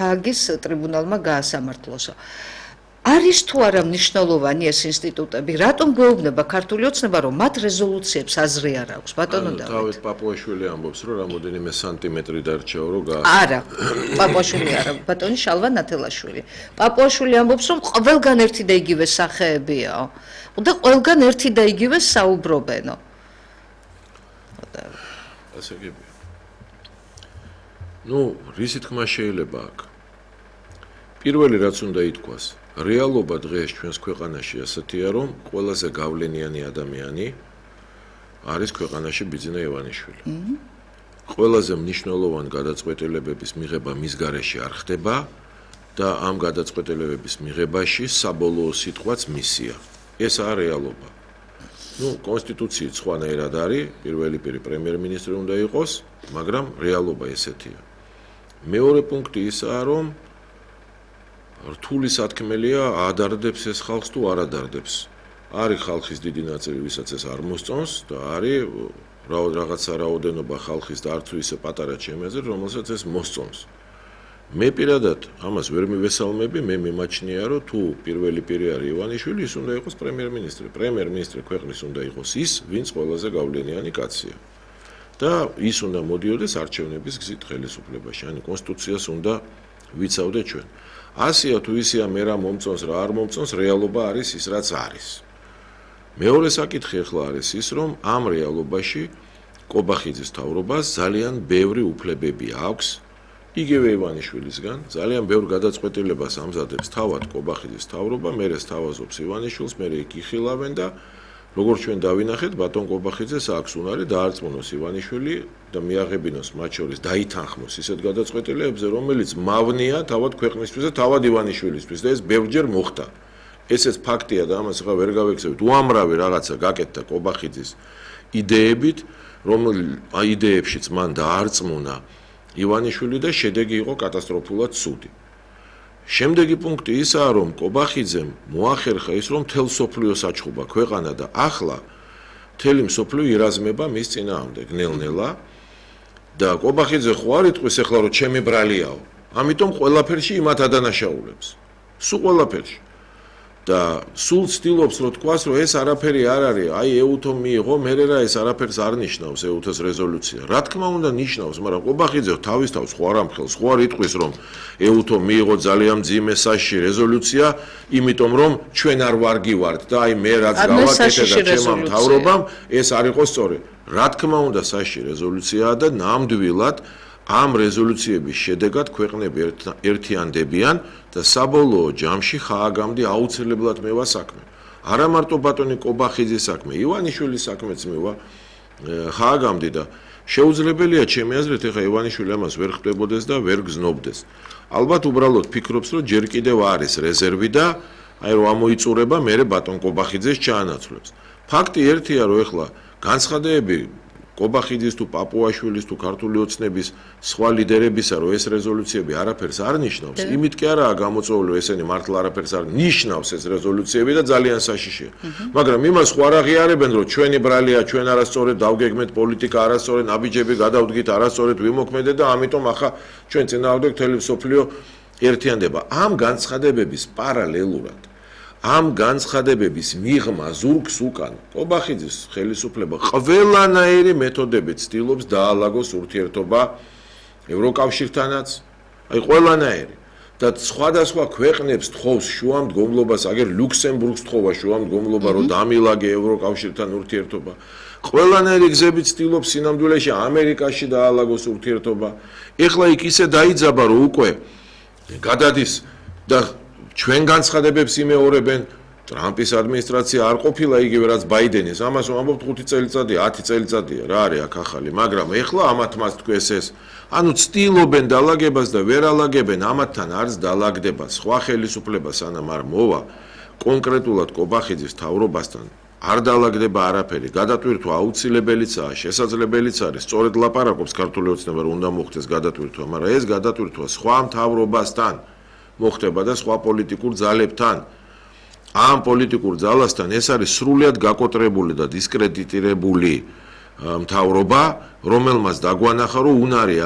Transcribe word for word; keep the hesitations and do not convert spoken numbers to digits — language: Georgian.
ჰააგის ტრიბუნალმა გაასამართლოსო. არის თუ არა მნიშვნელოვანი ეს ინსტიტუტები, რატომ გვეუბნება ქართული ოცნება, რომ მათ რეზოლუციებს აზრი არ აქვს, ბატონო დავით? თავით პაპუაშვილი ამბობს, რომ რამოდენიმე სანტიმეტრი დარჩაო, რომ გა არა, პაპუაშვილი არა, ბატონი შალვა ნათელაშვილი. პაპუაშვილი ამბობს, რომ ყველგან ერთი და იგივე სახეებიაო. და ყველგან ერთი და იგივე საუბრობენო. ასე გებია. ნუ, რისი თქმა შეიძლება აქ? პირველი რაც უნდა ითქვას, რეალობა დღეს ჩვენს ქვეყანაში ასეთია, რომ ყველაზე გავლენიანი ადამიანი არის ქვეყანაში ბიძინა ივანიშვილი. ყველაზე მნიშვნელოვანი გადაწყვეტილებების მიღება მის გარეშე არ ხდება და ამ გადაწყვეტილებების მიღებაში საბოლოო სიტყვაც მისია. ეს არის რეალობა. ნუ, კონსტიტუციით სხვანაირად არის, პირველი პირი პრემიერ-მინისტრი უნდა იყოს, მაგრამ რეალობა ესეთია. მეორე პუნქტი ისაა, რომ რთული სათქმელია ადარდებს ეს ხალხს თუ არ ადარდებს. არის ხალხის დიდი ნაწილი, ვისაც ეს არ მოსწონს და არის რაღაცა რაოდენობა ხალხის და არც ისე პატარა ჩემეზე, რომელსაც ეს მოსწონს. მე პირადად ამას ვერ მივესალმები, მე მიმაჩნია, რომ თუ პირველი პირი არის ივანიშვილი, ის უნდა იყოს პრემიერ-მინისტრი. პრემიერ-მინისტრი ქვეყნის უნდა იყოს ის, ვინც ყველაზე გავლენიანი კაცია. და ის უნდა მოდიოდეს არჩევნების გზით ხელისუფლებაში, ანუ კონსტიტუციას უნდა ვიცავდეთ ჩვენ. ასეა თუ ისეა მე რა მომწონს, რა არ მომწონს, რეალობა არის ის, რაც არის. მეორე საკითხი ახლა არის ის, რომ ამ რეალობაში კობახიძის მთავრობას ძალიან ბევრი უფლებები აქვს, იგივე ივანიშვილისგან, ძალიან ბევრ გადაწყვეტილებას ამზადებს თავად კობახიძის მთავრობა, მერე სთავაზობს ივანიშვილს, მერე იქ იხილავენ და როგორც ჩვენ დავინახეთ, ბატონ კობახიძეს აქვს უნარი დაარწმუნოს ივანიშვილი და მიაღებინოს მათ შორის დაითანხმოს ისეთ გადაწყვეტილებებზე, რომელიც მავნია თავად ქვეყნისთვის და თავად ივანიშვილისთვის და ეს ბევრჯერ მოხდა. ესეც ფაქტია და ამას ახლა ვერ გავექცევით. უამრავი რაღაცა გაკეთდა კობახიძის იდეებით, რომელ იდეებშიც მან დაარწმუნა ივანიშვილი და შედეგი იყო კატასტროფულად ცუდი. შემდეგი პუნქტი ისაა, რომ კობახიძემ მოახერხა ის, რომ მთელ სოფლიოს აჩხუბა ქვეყანა და ახლა მთელი მსოფლიო ირაზმება მის წინააღმდეგ ნელ-ნელა და კობახიძე ხო არ იტყვის ახლა, რომ ჩემი ბრალიაო. ამიტომ ყველაფერში იმათ ადანაშაულებს. სულ ყველაფერში. და სულ ცდილობს რომ თქვას, რომ ეს არაფერი არ არის, აი ეუთომ მიიღო, მერე რა ეს არაფერს არ ნიშნავს ეუთოს რეზოლუცია. რა თქმა უნდა ნიშნავს, მაგრამ კობახიძე თავის თავს ხო არ ამხელს, ხო არ იტყვის, რომ ეუთომ მიიღო ძალიან მძიმე საშიში რეზოლუცია, იმიტომ რომ ჩვენ არ ვარგივართ და აი მე რაც გავაკეთე და ჩემმა მთავრობამ ეს არ იყო სწორი. რა თქმა უნდა საშიში რეზოლუციაა და ნამდვილად ამ რეზოლუციების შედეგად ქვეყნები ერთიანდებიან და საბოლოო ჯამში ხააგამდე აუცილებლად მევა საქმე. არა მარტო ბატონი კობახიძის საქმე, ივანიშვილის საქმეც მევა ხააგამდე და შეუძლებელია ჩემი აზრით ახლა ივანიშვილი ამას ვერ ხვდებოდეს და ვერ გზნობდეს. ალბათ უბრალოდ ფიქრობს, რომ ჯერ კიდევ არის რეზერვი და აი რომ ამოიწურება მერე ბატონ კობახიძეს ჩაანაცვლებს. ფაქტი ერთია, რომ ახლა განცხადებები კობახიძის თუ პაპუაშვილის თუ ქართული ოცნების სხვა ლიდერებისა, რომ ეს რეზოლუციები არაფერს არ ნიშნავს, იმით კი არაა გამოწვეული, ესენი მართლა არაფერს არ ნიშნავს ეს რეზოლუციები და ძალიან საშიშია. მაგრამ იმას ხო არ აღიარებენ, რომ ჩვენი ბრალია, ჩვენ არასწორად დავგეგმეთ პოლიტიკა, არასწორად ნაბიჯები გადავდგით, არასწორად ვიმოქმედეთ და ამიტომ ახლა ჩვენ წინააღმდეგ მთელი მსოფლიო ერთიანდება. ამ განცხადებების პარალელურად ამ განცხადებების მიღმა ზურგს უკან კობახიძის ხელისუფლება ყველანაირი მეთოდებით ცდილობს დაალაგოს ურთიერთობა ევროკავშირთანაც, აი ყველანაირი და სხვადასხვა ქვეყნებს თხოვს შუამდგომლობას, აგერ ლუქსემბურგს თხოვა შუამდგომლობა, რომ დამილაგე ევროკავშირთან ურთიერთობა. ყველანაირი გზებით ცდილობს სინამდვილეში ამერიკაში დაალაგოს ურთიერთობა. ეხლა იქ ისე დაიძაბა, რომ უკვე გადადის და ჩვენ განცხადებებს იმეორებენ, ტრამპის ადმინისტრაცია არ ყოფილა იგივე რაც ბაიდენის, ამას ვამბობთ ხუთი წელიწადია, ათი წელიწადია, რა არის აქ ახალი, მაგრამ ეხლა ამათ მას თქვეს ეს, ანუ ცდილობენ დალაგებას და ვერ ალაგებენ, ამათთან არც დალაგდება სხვა ხელისუფლება სანამ არ მოვა კონკრეტულად კობახიძის მთავრობასთან არ დალაგდება არაფერი, გადატვირთვა აუცილებელიცაა, შესაძლებელიც არის, სწორედ ლაპარაკობს ქართული ოცნება, რომ უნდა მოხდეს გადატვირთვა, მაგრამ ეს გადატვირთვა სხვა მთავრობასთან მოხდება და სხვა პოლიტიკურ ძალებთან. ამ პოლიტიკურ ძალასთან ეს არის სრულიად გაკოტრებული და დისკრედიტირებული მთავრობა, რომელმაც დაგვანახა, რომ უნარი